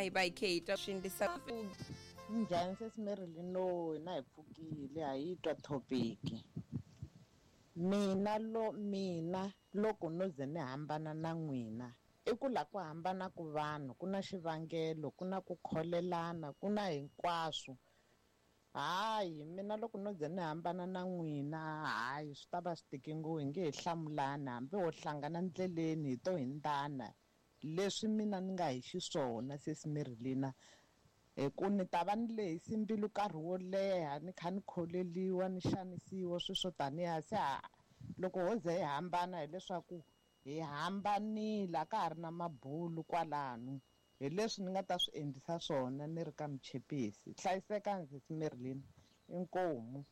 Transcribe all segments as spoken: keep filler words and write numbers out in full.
hi va hi khe hi twa swi endlisa Njhani sesi Marilyn? No, hina hi pfukile a hi twa topic. Mina lo mina loko no ze ni hambana na n'wina i ku la ku hambana ku vanhu ku na xivangelo, ku na ku kholelana, ku na hinkwaswo. Hayi mina loko no ze ni hambana na n'wina, hayi swi ta va swi tike ngopfu, hi nge he hlamulani hambi ho hlangana ndleleni hi to hindzana. Leswi mina ni nga hi xiswona sesi Marilyn, hi ku ni ta va ni lehise mbilu nkarhi wo leha ni kha ni kholeliwa ni xanisiwa swilo swo taniya se loko ho ze hi hambana hileswaku hi hambanile a ka ha ri na mabulu kwalano. Hi leswi ni nga ta swi endlisa swona ni ri ka Muchepisi. Hlayisekani sesi Marilyn, inkomu.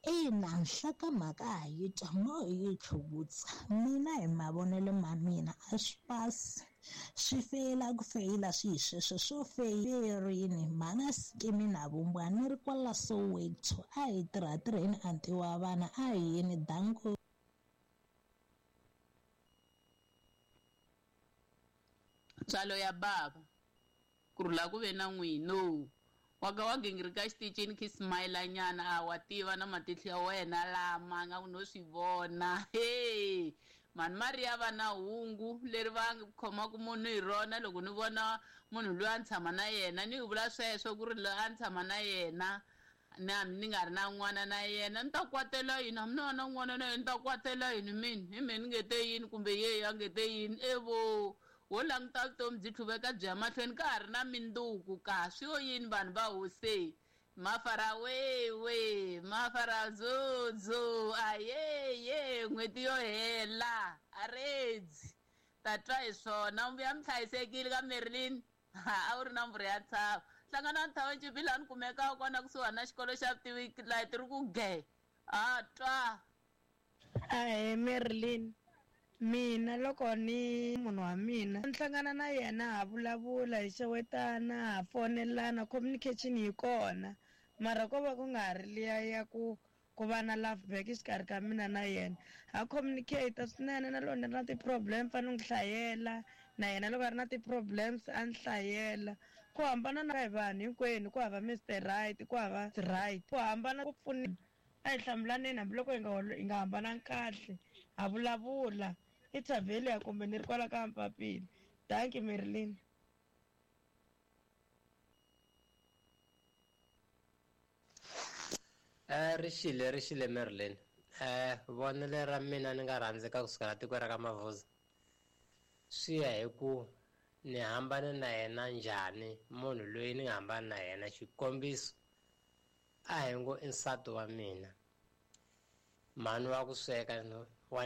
Ina, nhlokomhaka a yi twa mo yi tlhuvutsa. Mina hi mavonelo ma mina a swi pasi, swi feyila ku feyila swi hi sweswo swo feyerini. Mhana sikimi na vumbwa ni ri kwala Soweto, a hi tirha tirheni anti wa vana a hi yini danko. Ntswalo ya bava ku rhula ku ve na n'wino wa ka wa gingirika xitichini khi smile nyana a wa tiva na matihlo ya wena lama nga ku no swi vona. Hey mani Maria va na hungu leri va khomaka munhu hi rona. Loko ni vona munhu loyi a ni tshama na yena ni vula sweswo ku ri loyi a ni tshama na yena na ni nga ri na n'wana na yena ni ta kwatela yini, hambi ni va na n'wana na yena ni ta kwatela yini mina hi mina ni nge te yini kumbe yeyi a nge te yini evo wo languta vutomi byi tlhuveka byi ya mahlweni ka ha ri na minduku ka swi yo yini vanhu va hose mafara wewe mafara dzudzu ayeye n'hweti yo hela aredzi ta twa hi swona u ya mi hlayisekile ka Marilyn. A wu ri na mbhuri ya ntshava hlangana na Ntshava laha ni kumekaka kona kusuhani na xikolo xa vutivi laha ti ri ku ge a twa. Ahee Marilyn, mina loko ni munhu wa mina ni hlangana na yena ha vulavula hi xewetana ha fonelana, communication yi kona, mara ko va ku nga ha ri liya ya ku ku va na love back exikarhi ka mina na yena. Ha communicate swinene na loko ni ri na ti-problem fanele ni hlayela na yena, loko a ri na ti-problems a ni hlayela. Ku hambana na hi vanhu hinkwenu, ku hava Mister Right, ku hava right, ku hambana ku pfuna. A hi hlamulaneni hambiloko hi nga hi nga hambanangi kahle, ha vulavula. I Thavelia kumbe ni ri kwala ka Mpapile. Thank you Marilyn. Eh rixile rixile Marilyn. Eh vonelo ra mina ni nga rhandzeka kusukela tiko ra ka Mavuza. Swi ya hi ku ni hambane na yena njhani munhu loyi ni nga hambana na yena. Xikombiso a hi ngo i nsati wa mina, mhani wa ku sweka